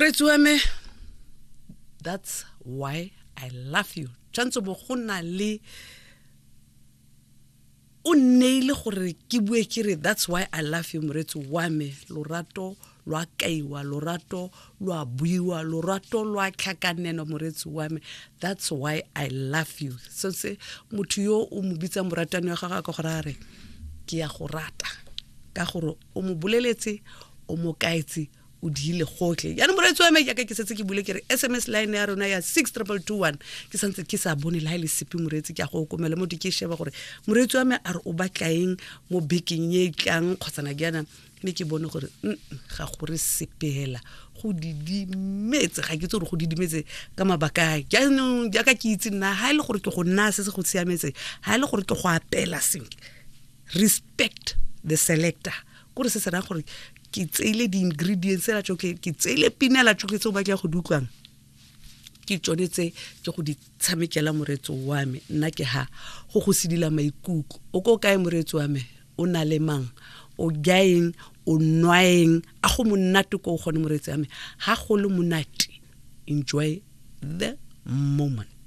Moreetsi wa me, that's why I love you. Tshwanetse bo go na le o nneile gore ke bue ke re that's why I love you. Moreetsi wa me, lorato lo a kaiwa, lorato lo a buiwa, lorato lo a tlhakanelo. Moreetsi wa me, that's why I love you. So se motho yo o mo bitsang moratani wa gagwe a ka gore a re ke ya go rata, ka gore o mo boleletse, o mo kaetse, o diile gotlhe. Jaanong moreetsi wa me, jaaka ke setse ke bule ke re SMS line ya rona ya 62221, ke santse ke sa bone le ga e le sepe. Moreetsi, ke a go okomela mo ke sheba gore moreetsi wa me a re o batlaeng mo bekeng e tlang kgotsana jaana, mme ke bone gore ga gore sepela, go didimetse. Ga ke tse gore go didimetse ka mabaka a. Jaanong jaaka ke itse nna, ga e le gore ke go nna se se go siametse, ga e le gore ke go apela sentle, respect the selector, kore se se raya gore ke tseile di-ingredients tsela tsotlhe, ke tseile pinela tsotlhe tse o batla go di utlwang, ke tsone tse ke go di tshamekela. Moreetso wa me, nna ke ha go go sedila maikutlo. O ko kae, moreetso wa me? O na le mang? O jaeng? O nwaeng? A go monate ko o gone, moreetsi wa me? Ga go le monate, enjoy the moment.